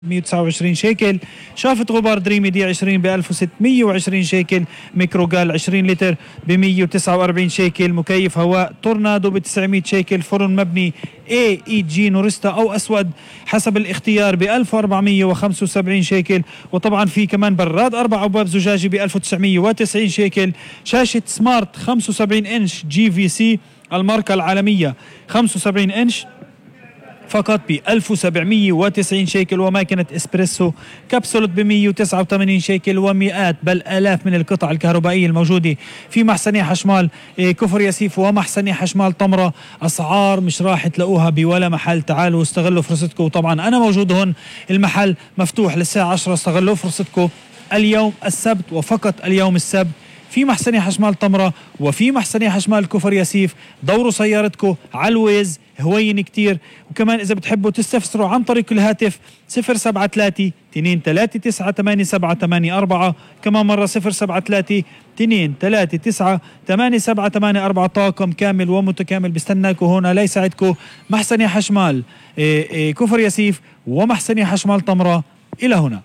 129 شيكل. شافة غبار دريمي دي 20 ب 1620 شيكل. ميكروجال 20 لتر ب 149 شيكل. مكيف هواء تورنادو ب 900 شيكل. فرن مبني AEG نورستا أو أسود حسب الاختيار ب 1475 شيكل. وطبعا في كمان براد 4 أبواب زجاجي ب 1990 شيكل. شاشة سمارت 75 إنش GVC الماركة العالمية 75 إنش فقط ب 1790 شيكل. وماكينة اسبريسو كبسولة ب 189 شيكل. ومئات بل آلاف من القطع الكهربائية الموجودة في محسني حشمال كفر ياسيف ومحسني حشمال طمرة. أسعار مش راح تلاقوها بولا محل. تعالوا استغلوا فرصتكم. وطبعا أنا موجود هون، المحل مفتوح للساعة 10. استغلوا فرصتكم اليوم السبت وفقط اليوم السبت في محسني حشمال طمرة وفي محسني حشمال كفر ياسيف. دوروا سيارتكم على الويز، هوين كتير. وكمان إذا بتحبوا تستفسروا عن طريق الهاتف 073 239 8784. كمان مرة 073 239 8784. طاقم كامل ومتكامل بستناكم هنا ليساعدكم. محسني حشمال كفر ياسيف ومحسني حشمال طمرة. إلى هنا.